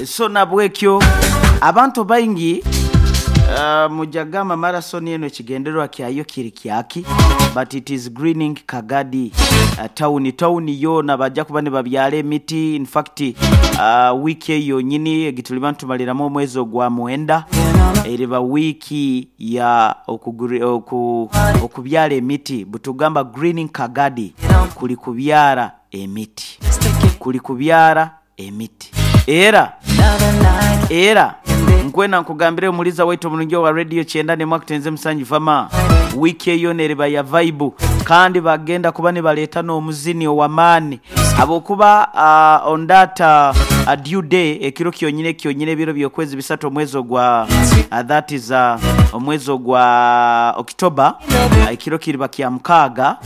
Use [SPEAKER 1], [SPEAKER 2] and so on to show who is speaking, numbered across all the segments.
[SPEAKER 1] So nabwekyo abantu baingi mujja gamba marathon eno ekigendererwa kyayo kiri kyaki but it is greening Kagadi town. Town yoona baja kuba nibabyala emiti in fact wiiki eyo yonyini egituliba nitumaliramu omwezi ogwa mwenda eriba wiiki ya okubyala emiti. Bwetugamba greening Kagadi kuli kubyala emiti. Kuli kubyala emiti. Era, era nkwenda nkugambire omuliza waitu omulungi owa Radio Kyenda n'emwe akutenze Musangi Fama, wiiki eyo yoona eriba ya vaibu kandi bagenda kuba nibaleeta n'omuzini ow'amaani habwokuba on that due day, ekiro kyonyini kyonyini ebiro by'okwezi bisatu omwezi ogwa that is omwezi ogwa October, ekiro kiriba kya mukaaga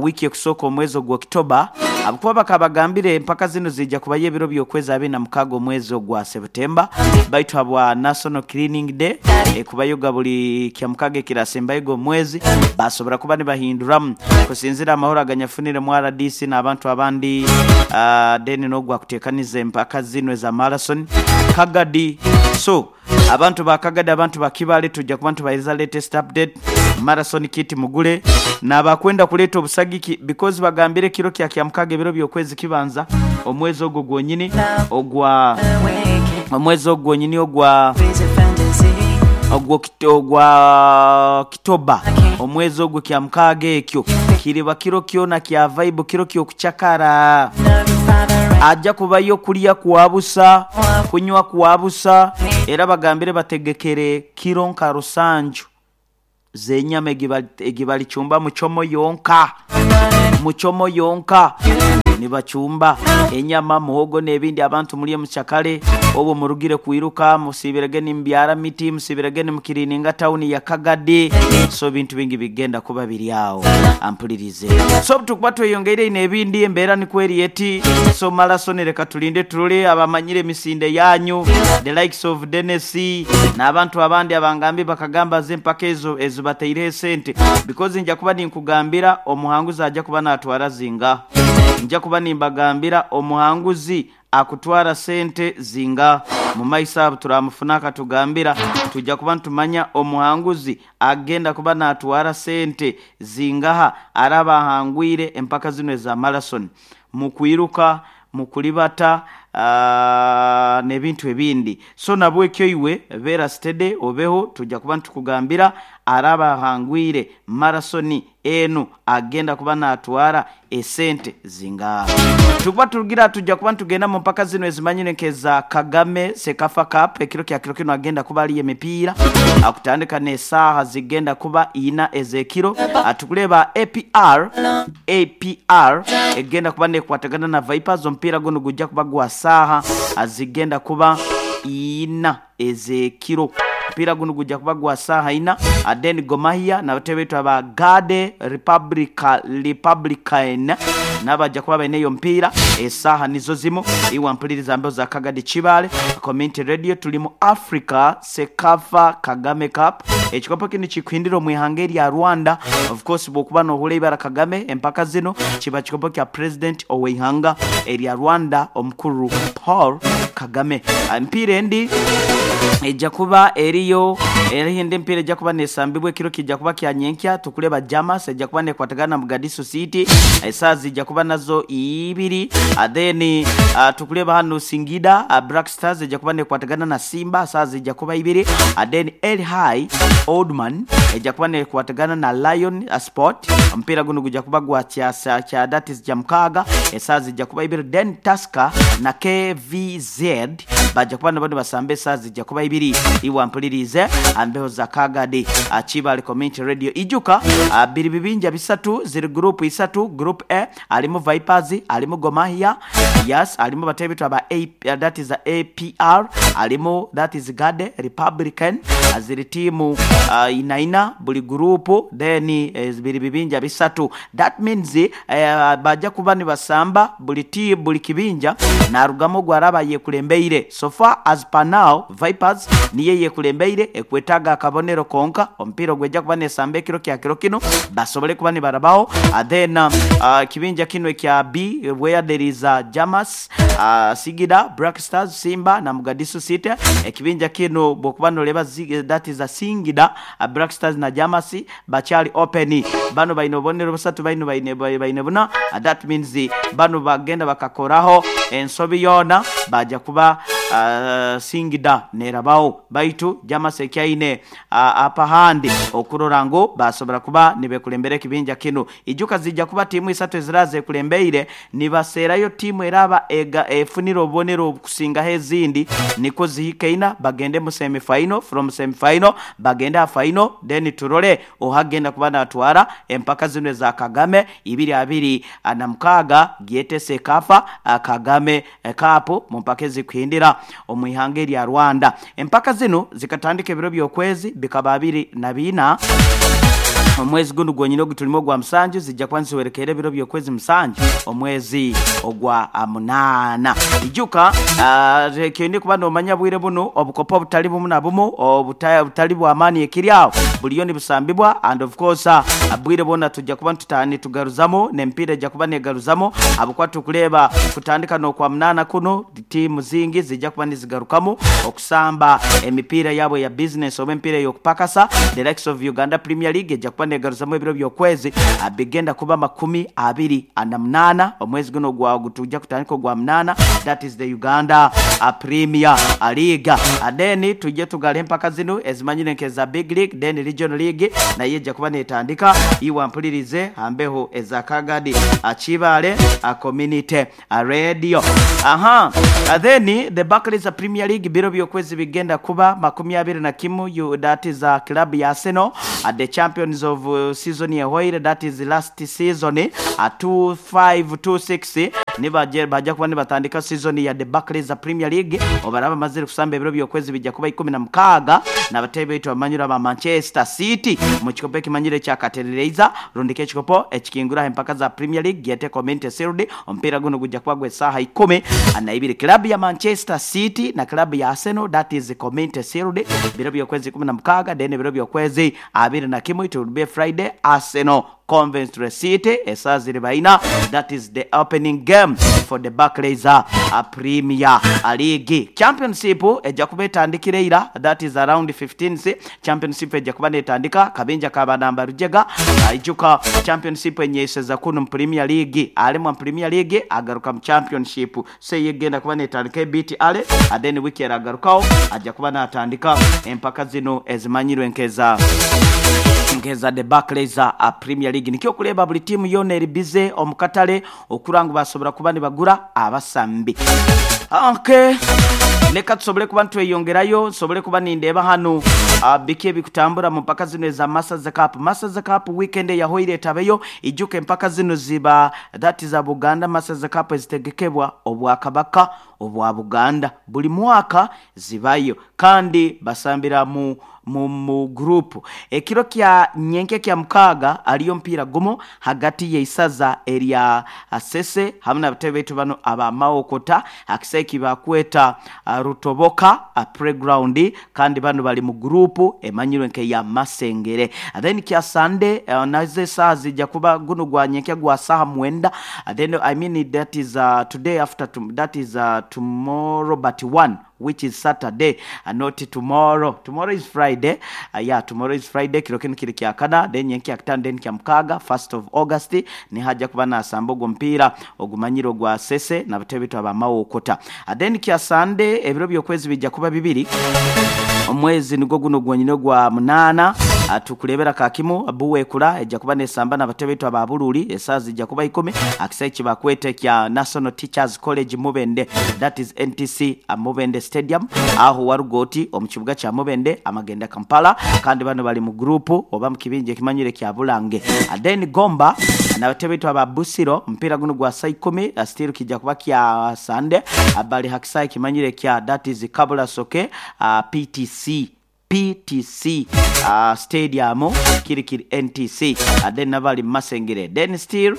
[SPEAKER 1] wiiki ekusooka omwezi ogwa October, Ahabw'okuba bakabagambira empaka zinu ziija kubayo ebiro by'okwezi 26 omwezi ogwa Sebutemba, baitu habwa National Cleaning Day ekubayoga buli Kyamukaaga ekirasembayoga omu mwezi, baasobora kuba nibahinduramu kusinzira amahoro aganyafunire mu rdc n'abantu abandi then n'ogwakuteekaniza empaka zinu eza Marathon Kagadi. So. Abantu ba Kagadi, abantu ba Kibale tuja kuba nitubahereza latest update, marathon kit mugule nabakwenda kuleta obusagiki because bagambire ekiro kya Kyamukaaga ebiro byokwezi kibanza omwezi ogwo gwonyini ogwa omwezi ogwo gwonyini ogwa ogwa Okitoba omwezi ogwo Kyamukaaga ekyo kiriba kiro kyona kya vaibu kiro kyokucakara. Aja kubayo kulya kwa busa, kunywa kwa busa, era bagambire bategekere kiro nka rusanju z'enyama egibalicumba muchomo yonka. Muchomo yonka nibacumba enyama, muhogo n'ebindi abantu mulye mucakale. Obwo murugire kwiruka, musiibirege nimubyara miti, musiibirege nimukiriininga tawuni ya Kagadi. So ebintu bingi bigenda kuba biri agho. Ampulirize. So obutukuba tweyongeire inho ebindi embeera nikwo eri eti. So Malasoni leka tulinde tulole abamanyire emisinde yanyu, the likes of Dennis n'abantu abandi abangambye bakagamba ze empaka ezo ezibataireho esente because nja kuba ninkugambira omuhanguzi aja kuba natwara zinga. Nja kuba nimbagambira omuhanguzi akutwara sente zinga. Mu maiso abo turamufuna akatugambira. Tuja kuba nitumanya omuhanguzi agenda kuba natwara sente zingaha araba ahangwire empaka zinu eza marathon mu kwiruka, mu kulibata n'ebintu ebindi. So nabwekyo iwe beera steady obeho tuja kuba nitukugambira araba ahangwire marathon enu agenda kuba natwara esente zingaha. Tukuba turugira tuja kuba nitugenda mu mpaka zinu ezimanyire nk'eza Kagame Cecafa Cup ekiro kya kiro kinu agenda kuba aliyo emipiira akutandika n'esaaha zigenda kuba ina ez'ekiro. Tukureeba APR APR egenda kuba nekwatagana na Vipers omupiira gunu gujja kuba gwa saaha zigenda kuba ina ez'ekiro. Omupiira gunu gujja kuba gwa saaha ina. Then Gor Mahia n'abatebe baitu aba Garde Republicaine nabo baja kuba baine eyo omupiira esaaha nizo zimu. Iwe ampuliriza mbeho za Kagadi Kibaale Community Radio tuli mu Africa Cecafa Kagame Cup. Ekikopo kinu kikuhindira omu ihanga erya Rwanda. Of course bwokuba nohurra eibara Kagame empaka zinu kiba kikopo kya President oweihanga erya Rwanda omukuru Paul Kagame. Emipiira endi eja kuba eriyo eriho endi emipiira eja kuba nesambibwa ekiro kija kuba kya nyenkya tukureba Jamas eja kuba nekwatagana na Mogadishu City esaaha zija kuba nazo ibiri then tukureba hanu Singida Black Stars eja kuba nekwatagana na Simba esaaha zija kuba ibiri then El High Oldman eja kuba nekwatagana na Lion Sport omupiira gunu guja kuba gwa kyasa kya that is Kyamukaaga esaaha zija kuba ibiri then Tusker na KVZ baja kuba nabo nibasamba esaaha zija kuba ibiri. Iwe ampuliriize aha mbeho za Kagadi Kibaale Community Radio. Ijuka biri bibinja bisatu, ziri guruupu isatu, Group A alimu Vipers, alimu Gor Mahia, yes, alimu bateebe baitu aba that is APR, alimu that is Gade Republican, ziri tiimu ina ina buli guruupu then biri bibinja bisatu. That means baja kuba nibasamba buli tiimu buli kibinja narugamu ogwo araba ayekulembeireemu. eyekulembeire. So far as per now, Vipers niyo eyekulembeire ekwetaaga akabonero konka omupiira ogw'eja kuba nesamba ekiro kya kiro kinu basobole kuba nibarabaho. Then ekibinja kinu ekya B where there is Jamas, Sigida, Black Stars, Simba na Mugadisu City. Ekibinja kinu bwokuba noreeba that is Singida, Black Stars na Jamas bakyali open. Banu baine obubonero busatu bainu baine baine buna that means banu bagenda bakakoraho ensobi yoona baja kuba Singida nerabaho baitu Jamas ekyaine upper hand okurora ngu basobora kuba nibekulembera ekibinja kinu. Ijuka zija kuba tiimu isatu eziraba zekulembeire nibaseerayo tiimu eraba efunire obubonero obukusingaho ezindi nikwo zihike ina bagende mu semi final, from semi final bagende ha final then turole oha agenda kuba natwara empaka zinu eza Kagame ibiri abiri na mukaaga gyete CECAFA Kagame Cup mu mpaka ezikuhindira omu ihanga erya Rwanda. Empaka zinu zikatandika ebiro by'okwezi bikaba abiri na biina omwezi gunu gwonyini ogutulimu ogwa musanju zija kuba niziwerekeera ebiro by'okwezi musanju omwezi ogwa munaana. Ijuka kyoine kuba nomanya bwire bunu obukopo obutali bumu na bumu obutali bw'amaani ekiri aho buliyo nibusambibwa and of course bwire bwona tuja kuba nitugaruzamu n'emipiira eja kuba negaruzamu ahabw'okuba tukureeba kutandika n'okwa munaana kunu tiimu zingi zija kuba nizigarukamu okusamba emipiira yaabo eya bizinesi oba emipiira ey'okupakasa. The likes of Uganda Premier League eja kuba negaruzamu ebiro by'okwezi bigenda kuba makumi abiri na munaana omwezi gunu ogwa ogutuja kutandika ogwa munaana that is the Uganda Premier League. Then tuje tugale empaka zinu ezimanyire nk'eza Big League then Regional League nayo eja kuba netandika. Iwe ampulirize ha mbeho eza Kagadi Kibaale Community Radio. Aha, then the Barclays Premier League biro by'okwezi bigenda kuba makumi abiri na kimu you, that is club ya Arsenal the champions of season ehoire that is last season 2526 nibaje baja kuba nibatandika season ya the Barclays Premier League obaraba bamazire kusamba ebiro by'okwezi bija kuba ikumi na mukaaga n'abateebe baitu abamanyire aba Manchester City mu kikopo ekimanyire ekya Katerereiza rundika ekikopo ekikinguraho empaka za Premier League gyete Community Shield. Omupiira gunu guja kuba gw'esaaha ikumi na ibiri. Club ya Manchester City na club ya Arsenal that is Community Shield biro by'okwezi ikumi na mukaaga then ebiro by'okwezi abiri na kimwe it will be Friday Arsenal Coventry City esaaha ziriba ina that is the opening game for the Barclays Premier League. Championship eja kuba etandikire ira that is around 15th Championship eja kuba netandika kabinja ka banamba rujega. Ijuka Championship enyeiseza kunu mu Premier League alemwa mu Premier League agaruka mu Championship so eyo egenda kuba netandika ebiti ale then wiki eragarukaho aja kuba natandika empaka zinu ezimanyirwe nkeza nkeza the Barclays Premier League. Nikyo okureeba buli tiimu yoona eri bize omu katale okura ngu basobora kuba nibagura abasambi. Okay. Leka tusobole kuba nitweyongerayo nsobole kuba nindeeba hanu biki ebikutambura mu mpaka zinu eza Masters Cup. Masters Cup weekend eyahoire etabeyo. Ijuka empaka zinu ziba that za Buganda Masters Cup ezitegekebwa Obwakabaka obwa Buganda. Buli mwaka zibayo kandi basambira mu mu mu group. Ekiro kya nyenkya kya mukaaga aliyo omupiira gumu hagati y'eisaza erya Sese hamwe n'abatebe baitu banu aba Mawokota aha kisaawe eki bakweta Rutoboka Playground kandi banu bali mu group emanyirwe nk'eya Masengere. Then kya Sunday nazo esaaha zija kuba gunu gwa nyenkya gwa saaha mwenda then I mean that is today after that is tomorrow but one which is Saturday not tomorrow. Tomorrow is Friday. Yeah, tomorrow is Friday. Kiro kinu kiri kya kana, then nyenkya kitano, then kya mukaaga, 1st of August, nihaja kuba nasamba ogwo mupiira ogumanyire ogwa Sese n'abatebe baitu aba Mawokota. Then kya Sunday ebiro by'okwezi bija kuba bibiri omwezi nigwo guno gwonyine ogwa munaana tukureebera kakimu Buweekula ejja kuba nesamba n'abatebe baitu aba Buluuli esaaha zijja kuba ikumi aha kisaawe eki bakweta ekya National Teachers College Mubende that is NTC Mubende Stadium aho Warugoti omu kibuga kya Mubende amagenda Kampala kandi bano bali mu group oba mu kibinja ekimanyire kya Bulange. Then Gomba n'abatebe baitu aba Busiro omupiira gunu gwa saa ikumi still kija kuba kya Sunday bali ha kisaawe ekimanyire kya that is Kabulasoke PTC. PTC Stadium Kirikiri NTC then nabali Masengere then still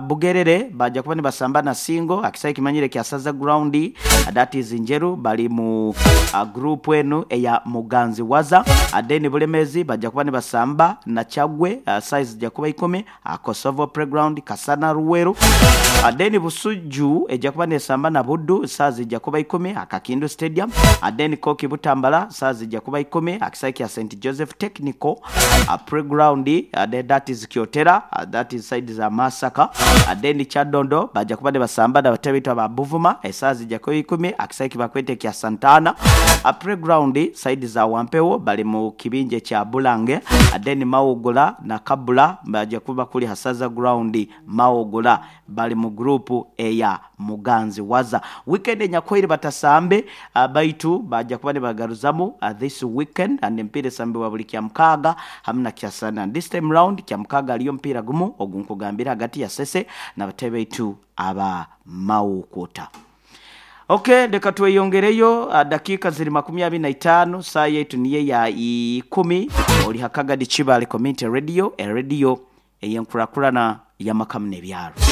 [SPEAKER 1] Bugerere baja kuba nibasamba na Singo akisai kimanyire kya Saza Ground, that is Njeru, bali mu group enu eya Muganzi Waza. Then Bulemezi baja kuba nibasamba na Chagwe, size ja kuba 10, Kosovo Playground Kasana Ruweru. Then Busujju ejja kuba nesamba na Buddu, size ja kuba 10, Akakindu Stadium. Then Koki Butambala size ja kuba 10, akisai kya St Joseph Technical Playground, then that is Kyotera, that is side za Masaka. Then Kyadondo baja kuba basamba na batebitwa ba Buvuma, esazi ja kuba 10, akisai kibakwete kya Santana Playground side za Wampewo, bali mu kibinje kya Bulange. Then Mawogola na Kabula baja kuba kuli Hasaza Ground Mawogola, bali mu group eya Muganzi Waza. Weekend enyakwire batasambe, baitu baja kuba nibagaruzamu this weekend, and empira esambibwa buli kya mukaaga hamwe na kyasana. And this time round kya mukaaga aliyo mpira gumu ogunkugambira hagati ya Sese na batebeitu aba Mawokota. Okay, leka tweyongereyo, dakika ziri 25, saa yetu niye ya 10. Oli Hakagadi Kibale Community Radio, e radio eyenkurakurana y'amakamu n'ebyaro.